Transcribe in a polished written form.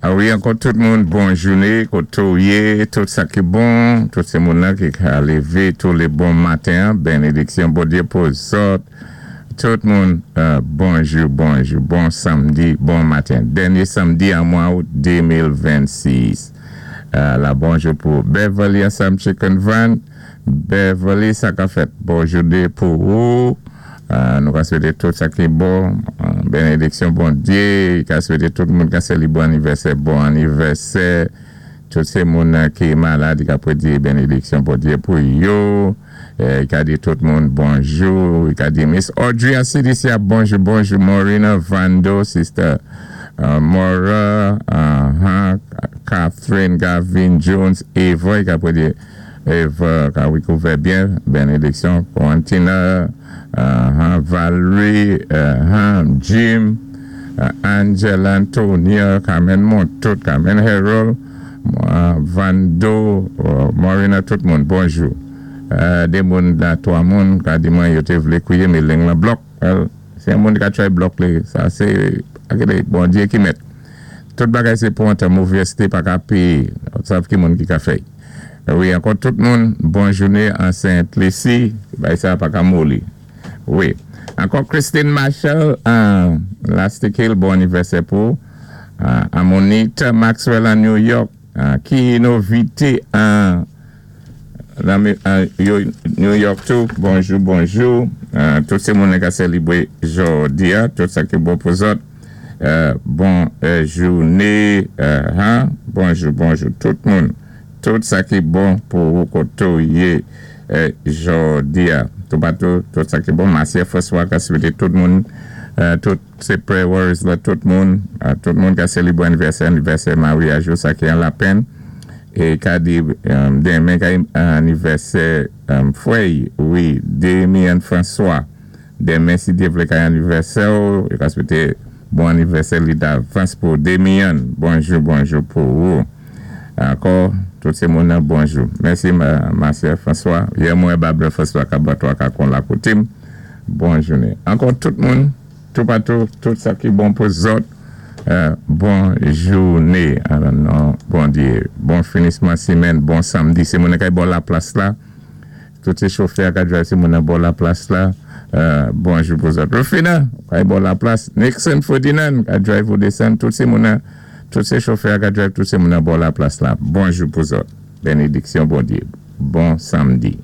A wi, ankò tout moun, bon jouné, koté yé, tout sa ki bon, tout sé moun-nan ki ka lévé tou lé bon maten, bénédiksyon Bondyé pou zòt. Tout moun, bonjou, bonjou, bon samdi, bon maten. Dènyé samdi an mwa out 2026. La bonjou pou Beverly ansanm Chicken Van. Beverly, sa ka fèt? Bon jouné pou ou. Nou ka swété tout sa ki bon, bénédiksyon Bondyé, ka swété tout moun ka sélibwé anivèsè, bon anivèsè. Tout sé moun ki malad, ka pwédi bénédiksyon Bondyé pou yo. Ka di tout moun bonjou. Ka di Miss Audrey an CDC a bonjou, bonjou. Morena Vando, sister Maura, Catherine, Gavin, Jones, Eva, ka pwédi Eva ka wikouvè byen, bénédiksyon. Quantina, Valerie, Jim, Angela, Antonia, Carmen Montout, Carmen Harold, Vando, Morena, tout moun, bonjou. Dé moun la, twa moun, ka di mwen yo té vlé kwiyé, mé lang lan block. Well, si yon moun ka try block li, sa sé, akidé, Bondyé ki mèt. Tout bagay sé pou an tan, movèzté pa ka péyé. Sav ki moun ki ka fè. Wi, ankò tout moun, bon jouné an Saint Lucie, bay sa pa ka moli. Wi. Ankò Christine Marshall an Lastic Hill, bon anivèsè pou. Amonita Maxwell an New York, ki novité an New York tou, bonjou, bonjou. Tout sé moun ka sélibwé jòdi a, tout sa ki bon pou zòt. Bon jouné, bonjou, bonjou tout moun. Tout sa ki bon pou ou koté ou yé jòdi a. Toupatou, tout sa ki bon. Marcia François ka swété tout moun, tout sé prayer warriors la, tout moun ka sélibwé anivèsè, anivèsè maryaj yo, sa ki an Lapèn. É ka di denmen ka anivèsè frè, wi, Damien François. Denmen, si Dye vlé, ka anivèsè ou, yo ka swété bon anivèsè li davans pou Damien. Bonjou, bonjou pou ou. Ankò, tout sé moun bonjou. Mèsi, Marcia François. Yè mwen Babler François ka batwa ka kon la koté. Bon jouné. Ankò tout moun, toupatou, tout sa ki bon pou zòt. Bon jouné. Non, Bondyé. Bon finisman simèn, bon samdi. Sé moun kay bò la plas la. Tout sé chofè ka drive sé moun nan bò la plas la. Bonjou pou zòt. Rufina, kay bò la plas. Nixon Ferdinand, ka drive ou désann. Tout sé moun nan, tout sé chofè ka drive, tout sé moun nan bò la plas la. Bonjou pou zòt. Bénédiksyon Bondyé. Bon samdi.